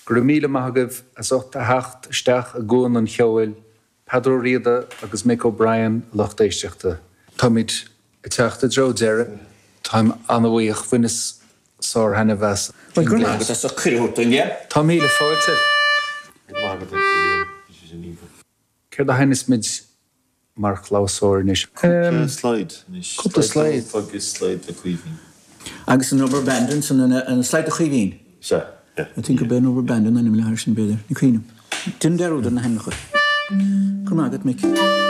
Go raibh míle maith agaibh as ucht a theacht isteach i gCuan an Cheoil, Peadar Ó Riada agus Mick O'Brien, a lucht éisteachta. Táimid ag teacht i dtreo deiridh. Táim an-bhuíoch. Bhaineas sár-thaitneamh as. Bhuel, go raibh maith agat as ucht cuireadh a thabhairt dúinn, Liam. Tá míle fáilte. Go raibh maith agat, a Liam. Bhí sé sin iontach. Céard a sheinneas muid mar chlabhsúr anois? Cúpla slide anois. Cúpla slide. Agus slide do Chaoimhín. Agus an Rubber Band ansan, an slide do Chaoimhín. Sea, yeah. I think gurb é an Rubber Band an ainm le air sin, b'fhéidir. Ní cuimhin liom. Déanaim dearúd ar na hainmneacha. Go raibh maith agat, Mick.